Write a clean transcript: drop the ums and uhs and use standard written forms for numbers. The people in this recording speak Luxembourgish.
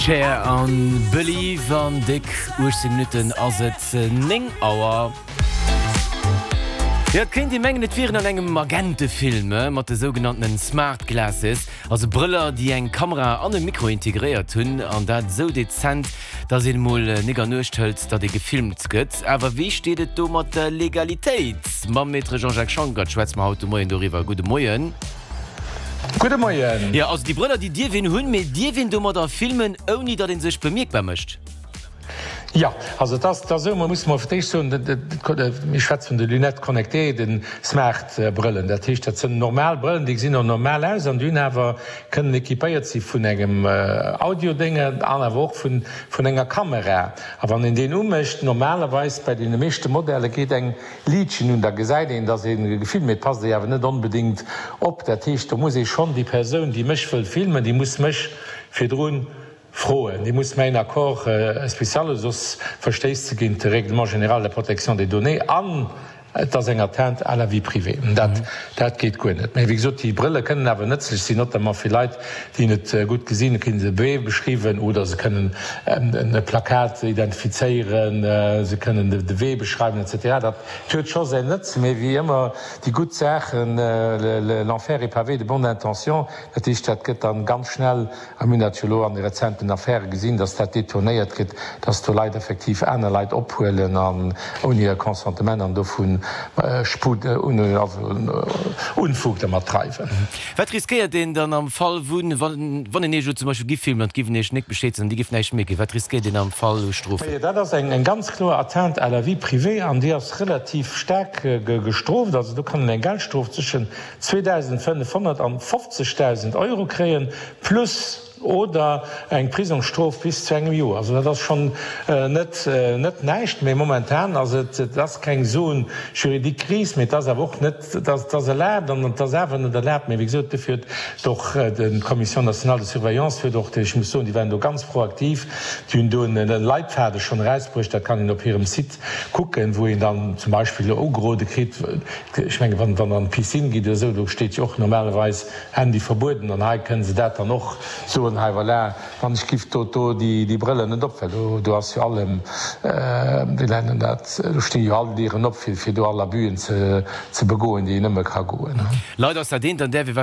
Cher an Believe. An déck 18 Minutten ass et 9 Auer. Jo, et kéint ee mengen, et wier een an engem Agentefilm mat de sougenanntenen Smart Glasses, also Brëller, déi eng Kamera an e Mikro integréiert hunn, an dat esou dezent, dass een emol nik an Uecht hëlt, datt ee gefilmt gëtt. Awer wéi steet et do mat der Legalitéit? Mam Maître Jean-Jacques Schonckert schwätze mer haut de Moien doriwwer. Gudde Moien. Gudde Moien. Jo, also déi Brëller, déi dierf een hunn, mee dierf een domadder filmen, ouni datt ee sech bemierkbar mécht? Jo, also et ass esou, mer musse mol fir d'éischt soen, mir schwätze vun de Lunettes connectées, de Smart-Brëllen. Dat heescht, dat sënn normal Brëllen, déi gesinn och normal aus an déi hunn awer, kënnen équipéiert si vun engem Audio-Dénge an awer och vun enger Kamera. A wann een deen umécht, normalerweis bei deene meeschte Modelle geet eng Liitchen un, da gesäit een, dass ee gefilmt, mee et passt ee awer net onbedéngt op. Dat heescht, do muss ee schonn déi Persoun, déi mech wëll filmen, déi muss mech virdru froen, déi muss mäin Accord spécial hunn, soss verstéisst se géint de Règlement général de protection des données an et ass eng Atteinte à la vie privée. Dat, dat geet guer net. Mee wéi gesot, déi Brëlle kënnen awer nëtzlech sinn, notamment fir Leit, déi net gutt gesinn, kënnen se Beem beschriwen oder se kënnen e Plakat identifizéieren, se kënnen de Wee beschreiwen etc. Dat huet scho säin Nëtzen, mee wéi ëmmer déi gutt Saachen, l'enfer est pavé de bonnes intentions, dat heescht, dat gëtt dann ganz schnell A mir hunn dat jo elo an de rezenten Affäre gesinn, dass dat detournéiert gëtt, dass do Leit effektiv aner Leit ophuelen an ouni hir Consentement an dovu Sput, also Unfug dermat dreiwen. Wat riskéiert een dann am Fall wou, wann een Iech elo zum Beispill giff filmen an et giff een Iech nik Bescheed soen an Dir gifft näischt mierken, wat riskéiert een am Fall u Strofen? Majo, dat ass eng ganz kloer Atteinte à la vie privée an déi ass relativ staark gestrooft. Also do kann een eng Geldstrof zwëschen 2.500 an 50.000 Euro kréien, plus oder eng Prisongsstrof bis zu engem Joer. Also dat ass schonn net net näischt. Mee momentan ass et, et ass keng Zone juridique grise, mee et ass awer och net, et ass et ass erlaabt an et ass awer net erlaabt. Mee wéi gesot, dofir huet och d'Commission nationale de surveillance huet och, ech muss soen, déi waren do ganz proaktiv, déi hunn do e Leitfaden schonn erausbruecht, dat kann een op hirem Site kucken, wou een dann zum Beispill ugerode kritt, ech mengen, wann Der an d'Piscine gitt oder esou, do steet jo och normalerweis Handy verbueden, an hei kënne se dat dann och soen, hei voilà, wann ech giff do do déi Brëllen net op, well do do ass jo allem, wéi nennt en dat, do sti jo all Dieren op, fir fir do all Abusën ze ze begoen, déi een nëmme ka goen. Leider ass dat eent, an där wir.